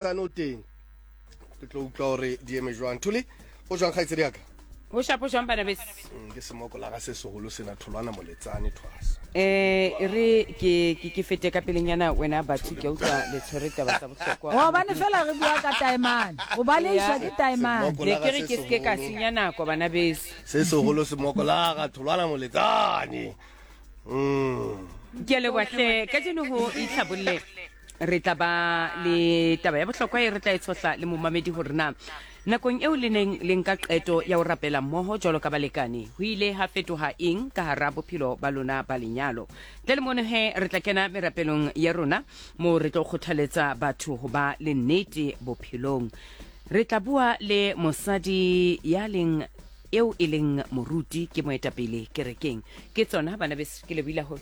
Moletsane o teng, ke tlo utlwa gore di eme jwang. Thuli, o jwang kgaitsedi ya ka? Ho shapo jwang bana beso? Ke semoko la ga se seholo sena, Tholwana Moletsane thwasa. E re ke ke ke fete ka pelenyana wena batho, ke a utlwa le tshwere taba tsa bohlokwa. Gobane fela re bua ka taemane, o baleiswa ke taemane. Ne ke re ke seke ka senya nako bana beso. Se seholo semoko la ga Tholwana Moletsane. Ke a leboha hle, kajeno ho itlhabolle Re tla ba le taba ya bohlokwa e re tla e tshohla le momamedi hore na nakong eo le neng le nka qeto ya ho rapela mmoho jwalo ka balekane, ho ile ha fetoha eng ka hara bophelo ba lona ba lenyalo. Ntle le mono he, re tla kena merapelong ya rona moo re tlo kgothaletsa batho ho ba le nnete bophelong. Re tla bua le mosadi ya leng eo e leng moruti, ke moetapele kerekeng. Ke tsona bana beso, ke lebohile haholo.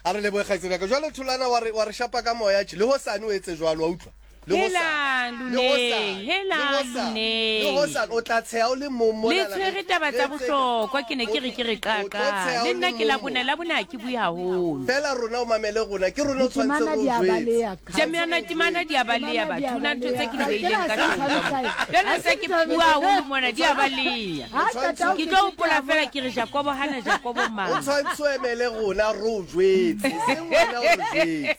A re lebohe kgaitsedi ya ka. Jwale Tholwana wa re wa re shapa ka moya tje. Le hosane o etse jwalo wa utlwa. Le Helang hosane. Le hosane. luneng, Le helang hosane. Le luneng. hosane o tla tsheha o le mong Le mona. tshwere taba tsa bohlokwa, ke ne ke re ke re O tlo qaqa. tsheha Le o nna le ke mong Labone, mo. Labone ha ke bue haholo. Fela rona o mamele rona, ke rona o tshwanetse Ditemana re o di a jwetse. baleha. Temana temana di a baleha Temana di batho, a ho na ntho tse ke di baleha. beileng ka Ke la tlung ka mo. se Jwale se ke bua haholo mona di a baleha. Ha qeta ho Ke tlo hopola feta fela ke re Jakobo hana Jakobo O mang. tshwanetse o emele rona re o jwetse, eseng wena o re jwetse.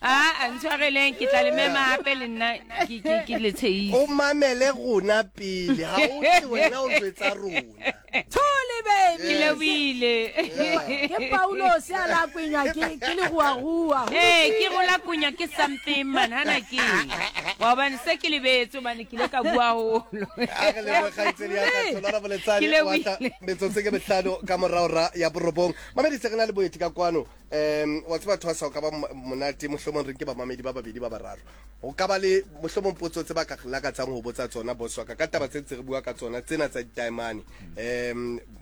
Aa ntshwareleng, ke tla le mema hape le nna ke ke ke le tshehise. O mamele rona pele, ha o tle wena o jwetsa rona. Thole baby. Ke lebohile. Ke Paulos a la kwenywa ke ke leruarua. Ee, ke rola kunya ke something man, hana ke eng. Wa hobane se ke lebetse hobane ke ile ka bua haholo. A re lebohe kgaitsedi ya ka Tholwana Moletsane Ke wa tla lebohile. metsotso ke mehlano ka morao ra ya borobong. Mamedi se re na le boeti ka kwano. Wa tseba thwasa o ka ba monate mohlomong re nke bamamedi ba babedi ba bararo. Ho ka ba le mohlomong potso tse ba ka lakatsang ho botsa tsona boss wa ka ka taba tse ntse re bua ka tsona tsena tsa ditaemane.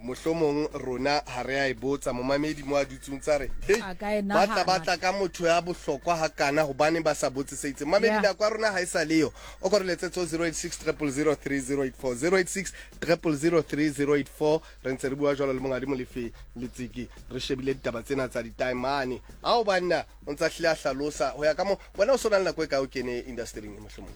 Mohlomong rona ha re a e botsa momamedi mo a dutseng tsa re hei A ka e ba tla nahana. ba tla ka motho ya bohlokwa hakana hobaneng ba sa botse se itseng. Mamedi Yeah. nako ya rona ha e sa leyo. O ko re letsetse ho 086 000 3084 086 000 3084 re ntse re bua jwalo le Monghadi Molefi Letsiki re shebile ditaba tsena tsa ditaemane. Ao banna o ntsa hlile a hlalosa ho ya ka mo wena o so na le nako e kae o kene industering e mohlomong?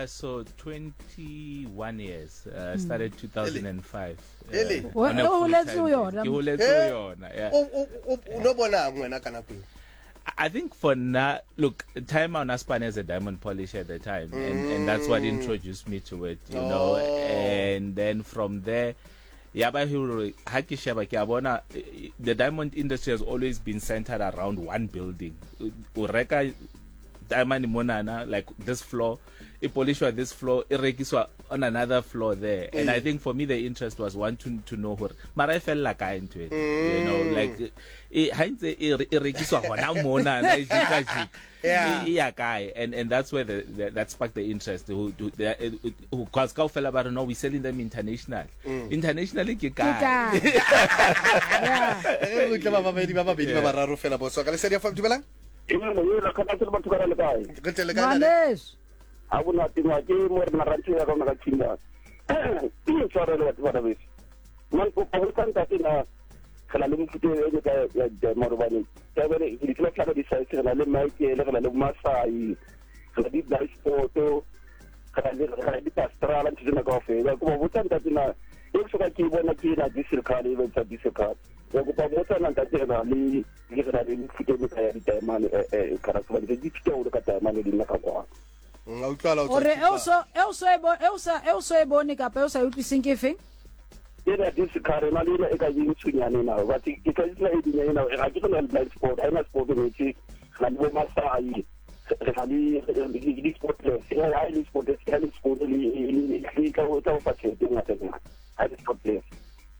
So 21 years. Started 2005. Ele? On a O holetse full-time ho yona. basis. Ke holetse ho yona, yeah. O no bonang wena ka nako eo? I think for now, look, time on Aspan as a diamond polish at the time, and that's what introduced me to it, you know. And then from there, ya ba hore ha ke sheba ke a bona, the diamond industry has always been centered around one building. O reka diamond monana, like this floor, e polishwa this floor, e rekiswa on another floor there. And I think for me the interest was wanting to know hore mara e fella kae ntho ena, you know, like e ha ntse e e rekiswa hona monana e jika jika. E ya kae? And that's where that sparked the interest. Because kaofela ba re no, we selling them international. Internationally ke kae? Yeah. Re utlwe ba babedi ba babedi ba bararo fela boss wa ka. Lesedi FM, dumelang. Dumela, ka batho batho ka le kae? Re tle le kae, ntate? Ngwaneso. Ha bonate ma ke mo re marantse ya rona ka tshimba. Ke tshwarelo batho ba beso. Man kopa ho tsa ntate na re na le mofuta e ne ka ya diamond hobane tabele di tla tla di size re na le Michael, re na le Masai, re na le Black Sport, re na le Pastrala, ntho tsena kaofela. Kopa botsa ntate na e ke soka ke bona ke na diesel car e ba diesel car. Ke kopa botsa na ntate re na le ke re na le mefuta e mekae ya ditaemane ka hobane ke ithuta haholo ka taemane le nna ka kwano. A utlwala o tswa Ore Thipa. eo so eo so e bo eo sa eo so e bone kapa eo sa e utlwiseng ke efeng? Ena diesel car ena le ena e ka e ntshunyane ena but ke tla tsela e dinya ena ga ke tsena le blind spot ha ena spot e ntse re na le bo Masai re na le di spotless ha e le spotless ha e le spot le le tla o tla o fa tjhelete e ngata ngata ha e le spotless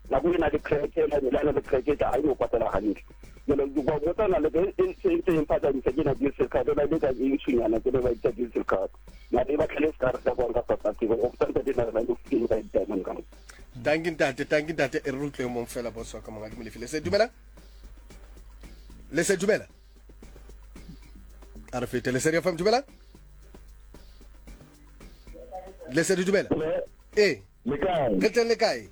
nako ena le crack ena le na le crack e ha e no patala hantle jalo ke kwa botsa na le e ntse e ntse e mphatsanyisa ke na diesel card ena le ka e ntshunyana ke le ba itsa diesel card na le ba tlhele se ka re ka kwang ka South Africa o tsantsa di na le go feng ka diamond ka Dankie ntate, dankie ntate. E re utlwe mong fela boss wa ka Monghadi Molefi. Le se dumela? Le se dumela? A re fete. Lesedi FM, dumela? Lesedi dumela? Ee. Le kae? Re teng le kae?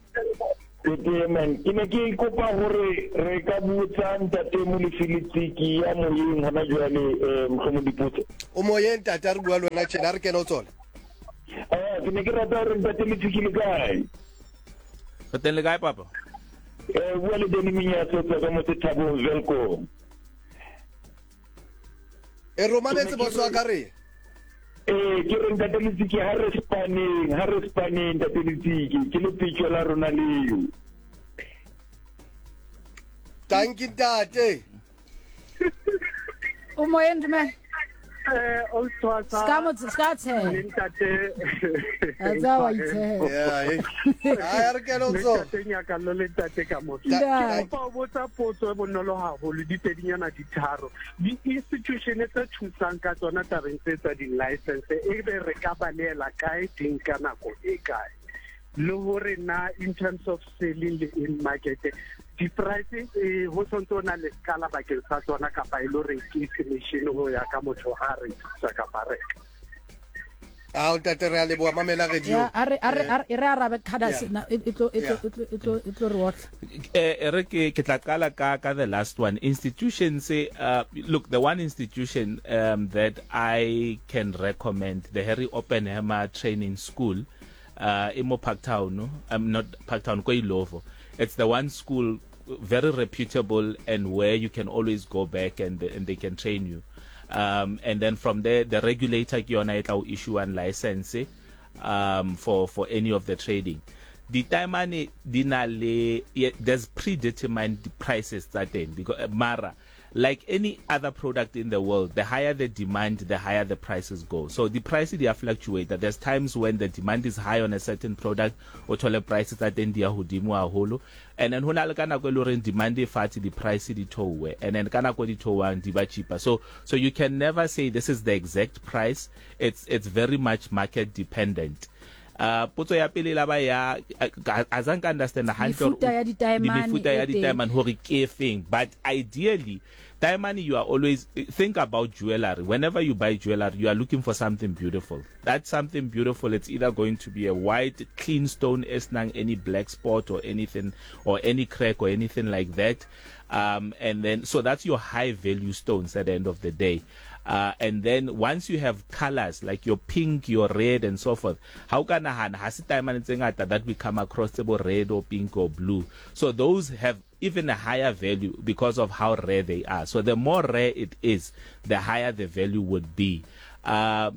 Ke teng man. Ke ne ke kopa hore re ka botsa ntate Molefi Letsiki ya moyeng hona jwale eh mohlomong dipotso. O moyeng ntate a re bua le wena tjena a re kene o tsona. Ah, ke ne ke rata hore ntate Letsiki le kae? Re teng le kae papa? Eh bua le Danny Minyatso tswa ka motse Thabong Welkom. E romametse boss wa ka re. Ee, ke re ntate Letsiki ha re spaneng, ha re spaneng ntate Letsiki, ke lepetjo la rona leo. Tanki ntate. O moyeng dumela. Eh, o tshwasa. Ska mo ska tshela. Le ntate. A tsa wa itshela. Yeah, eh. Ai re kene o Le tso. ntate Nyakallo le ntate Kamoso. Ntate. Ke kopa ho botsa potso e bonolo haholo, di pedinyana di tharo. Di-institution tse thusang ka tsona tabeng tse tsa di-license, ebe re ka balehela kae teng ka nako e kae? Le hore na in terms of selling le in market, di-price eh, ho sontse ho na le skala bakeng sa tsona kapa e le hore ke estimation ho ya ka motho ha rekisa kapa reka? Ao ntate re a leboha mamela radio. Ya, a re a re a re- e re arabe Cadas Yeah. na e e tlo e tlo Yeah. e tlo e tlo e tlo re otla. Eh, e re ke ke tla qala ka ka the last one institution say look the one institution um, that I can recommend the Harry Oppenheimer Training School e mo Parktown I'm not Parktown ko Ilovo it's the one school very reputable and where you can always go back and and they can train you um, and then from there the regulator ke yona e tla o issue license um, for for any of the trading ditaemane di na le there's predetermined prices tsa teng because eh, mara like any other product in the world the higher the demand the higher the prices go so the price di a fluctuate there's times when the demand is high on a certain product o thole price tsa teng di ya hodimo haholo and then ho na le ka nako e le horeng demand e fatshe di price di theowe and then ka nako di theowang di ba cheaper so so you can never say this is the exact price it's it's very much market dependent Uh, potso ya pele la ba ya a zang ka understand hantle Mefuta ya ditaemane mefuta ya e teng. ditaemane hore ke efeng but ideally taemane you are always think about jewelry whenever you buy jewelry you are looking for something beautiful that something beautiful it's either going to be a white clean stone e senang any black spot or anything or any crack or anything like that um, and then so that's your high value stones at the end of the day Uh, and then once you have colors like your pink, your red and so forth, ha o ka nahana ha se taemane tse ngata that we come across tse bo red or pink or blue. So those have even a higher value because of how rare they are. So the more rare it is, the higher the value would be.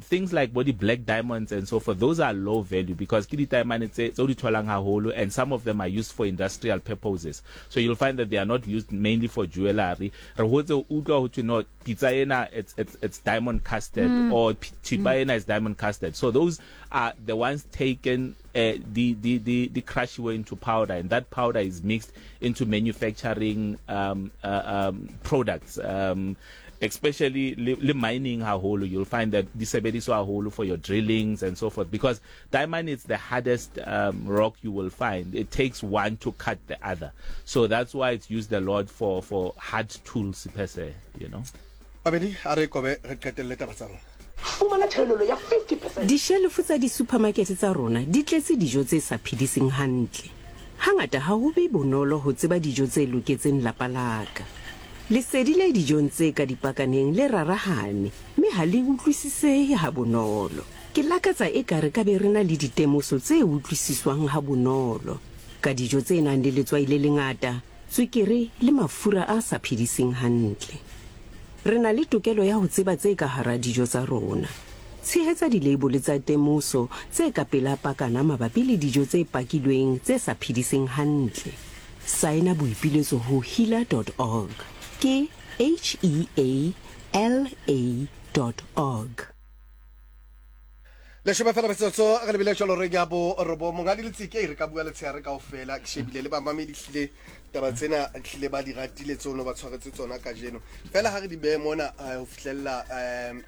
Things like bo di black diamonds and so forth, those are low value because ke ditaemane tse tse o di tholang haholo and some of them are used for industrial purposes. So you'll find that they are not used mainly for jewelry. Re hotse o utlwa ho thwe no pitsa ena it's it's it's diamond casted mm. or thipa ena is diamond casted. So those are the ones taken di di di di crushiwe into powder and that powder is mixed into manufacturing um, um, products um, especially le, le mining haholo you'll find that di sebediswa haholo for your drillings and so forth because diamond is the hardest um, rock you will find it takes one to cut the other so that's why it's used a lot for for hard tools per se you know Babedi a re kobe re qetelle taba tsa rona. Fumana theolelo ya 50 percent. Dishelofo tsa disuphamakete tsa rona di tletse dijo tse sa phediseng hantle. Hangata ha ho be bonolo ho tseba dijo tse loketseng lapa la ka. Lesedi le dijong tse ka dipakaneng le rarahane mme ha le utlwisisehe habonolo. Ke lakatsa eka re ka be re na le ditemoso tse utlwisiswang habonolo ka dijo tse nang le letswai le lengata, tswekere le mafura a sa phediseng hantle. Re na le tokelo ya ho tseba tse ka hara dijo tsa rona. Tshehetsa dileibole tsa temoso tse ka pela pakana mabapi le dijo tse pakilweng tse sa phediseng hantle. Saena boipiletso ho heala dot org. Ke H-E-A-L-A dot org. Leshome fela metsotso re lebile jalo reng ya bo robong. Monghadi Letseke, re ka bua letshehare kaofela. Ke shebile le bamamedi hlile taba tsena hlile ba di ratile tseo no ba tshwaretse tsona kajeno. Fela ha re di behe mona ho fihlella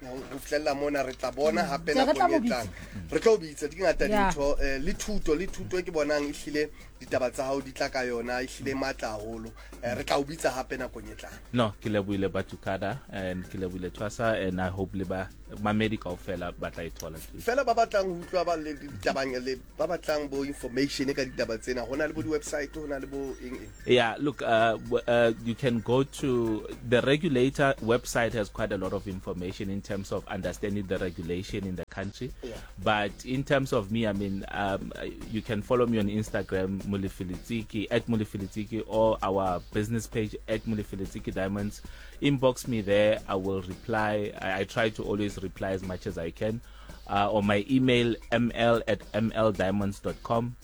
ho fihlella mona re tla bona hape Re tla nakong e mo bitsa. tlang. Re tlo bitsa di ngata Yeah. dintho le thuto le thuto e ke bonang ehlile ditaba tsa hao di tla ka yona ehlile e matla haholo. Re tla o bitsa hape nakong e tlang. No, ke lebohile Batukada and ke lebohile Twasa and I hope le ba Mamedi kaofela ba tla e thola too. Fela ba batlang ho utlwa ba le ditabang le ba batlang bo information ka ditaba tsena ho na le bo di-website ho na le bo eng eng. Yeah, look, you can go to the regulator website has quite a lot of information in terms of understanding the regulation in the country. Yeah. But in terms of me, I mean, you can follow me on Instagram, Molefi Letsike, at Molefi Letsike, or our business page at Molefi Letsike Diamonds. Inbox me there. I will reply. I try to always reply as much as I can. Or my email, ml@mldiamonds.com.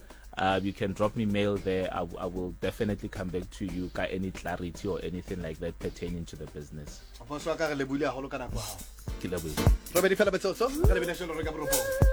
You can drop me mail there. I will definitely come back to you ka any clarity or anything like that pertaining to the business. Boss wa ka re lebohile haholo ka nako ya hao. Ke lebohile. Robedi fela metsotso, re lebile jwalo re ka borobong.